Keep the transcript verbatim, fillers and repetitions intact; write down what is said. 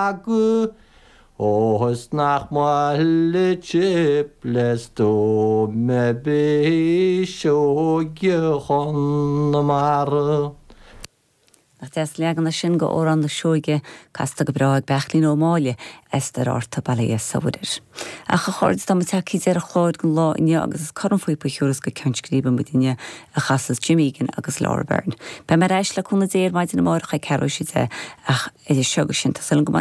Magadh ó is nach maith le chip le stuaim Seoige Chonamara. Nach deas leagan é sin go Amhrán na Seoige casta go breá ag Beairtlín Ó Máille Esther Arta Balia Sawadir. Ach a chairde tá tagtha deireadh an chláir don lá inniu agus is cornphíopa a thiúrfas go ceann scríbe muidinne a chasas Jim Egan agus Laura Byrne. Beidh mé ar ais le cúnamh Dé ar maidin amárach ag ceathrú théis a deich ach idir seo agus sin tá go